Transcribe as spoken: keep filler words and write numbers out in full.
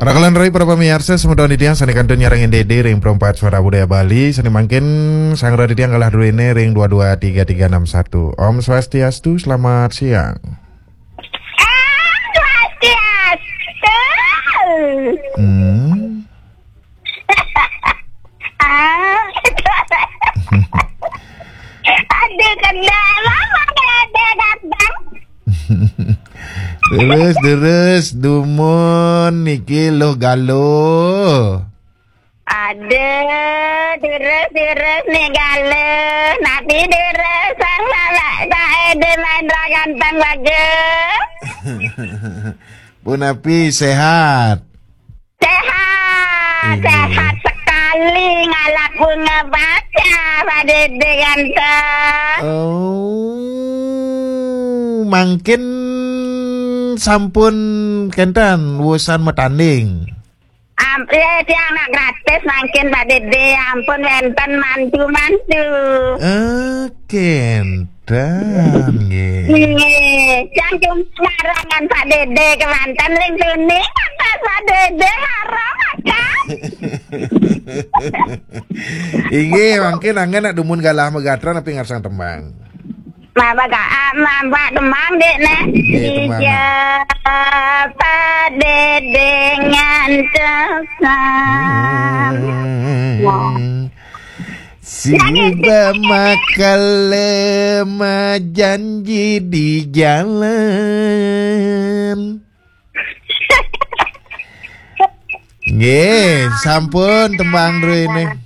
Rakalan rai para pamiarsa, semeton titiang sane kantun nyarengin Dede ring Perempat Suara Budaya Bali, sane mangkin sang rai titiang galah druene ring dua dua tiga tiga enam satu. Om Swastiastu, selamat siang. Om Swastiastu. Hmm. Ah. Aduh, kendala mana ada datang. Terus, terus, dumun niki loh galuh. Aduh, terus, terus nih galuh. Napi terus, sang lala, tak ada main rakan tang bagus. Punapi, sehat? Sehat, iya. Sehat sekali, ngalap bunga baca, Pak Dede ganteng. Oh, mangkin sampun kenten wusan matanding. Ampun, tiang nak gratis mangkin, Pak Dede, ampun wenten mantu-mantu. Eh, kenten, nggih. Nggih, tiang cuma ngarangan Pak Dede kemanten ring tuni, kata Pak Dede haram, kan? Inggih, mangkin anggen nak dumun galah magatra napi ngarsang tembang. Maba ka, ah, maba tembang, Dek, neh. Nggih, tembang. Ija Pak Dede ngantosan. Hmm. Wah. Siba makale majanji di jalan. Nggih, sampun tembang druene.